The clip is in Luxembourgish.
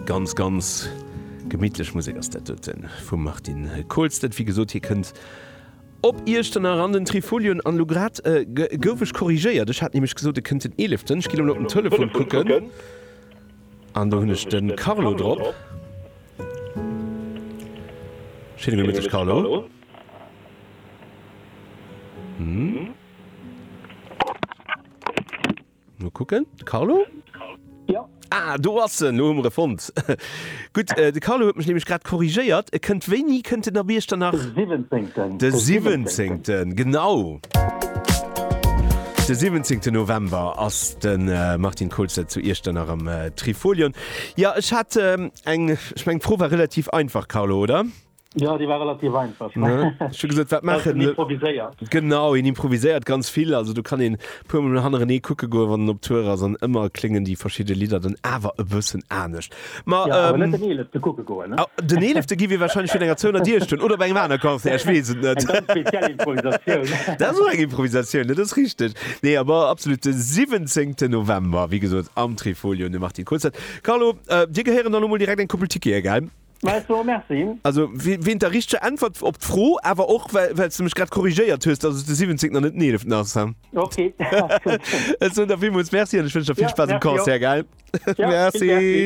Ganz, ganz gemittlech Musek ass dat doten vum Martin Kohlstedt. Wéi gesot, hie kënnt op Iechternach an den Trifolion. An elo grad gouf ech korrigéiert. Ech hat nämlech gesot, e kënnt den eeleften. Ech ginn elo op den Telefon kucken an do hunn ech de Carlo drop. Schéine gudde Mëtteg, Carlo. Mol kucken, de Carlo? Jo. Ah, do ass en, lo hu mer e fonnt. Gutt, de Carlo huet mech nämlech grad korrigéiert. E kënnt, wéini kënnt en op Iechternach? De siwwenzéngten. De siwwenzéngten, genau. De siwwenzéngten November ass de Martin Kohlstedt zu Iechternach am Trifolion. Jo, ech hat eng, ech mengen d'Fro war relativ einfach, Carlo, oder? Jo, déi war relativ einfach. Ne? Ech hu gesot, wat maachen. En improviséiert. Genau, en improviséiert ganz vill. Also do kann een e puer Mol hannerenee kucke goen, wann en op Tour ass an ëmmer kléngen déi verschidde Lidder dann awer e bëssen anescht. Ma, ja, awer net den eelefte kucke goen, ne? Den eelefte gi wir wahrscheinlech vun enger zouener Dier stoen oder bei engem anere Concert, ech weess et net. Eng ganz speziell Improvisatioun. Dat ass och eng Improvisatioun, dat ass richteg. Nee, awer absolut de 17. November, wéi gesot, am Trifolion, de Martin Kohlstedt. Carlo, dir gehéieren dann elo mol direkt eng Koppel Tickete, gell? Mä ech soe Merci. Also wéint der richteger Äntwert op d'Fro, awer och well s de mech grad korrigéiert hues, dass et de 17. an net den 11. ass. Ok. Ech soen der villmools Merci an ech wënschen der vill Spaass um Concert, gell? Merci.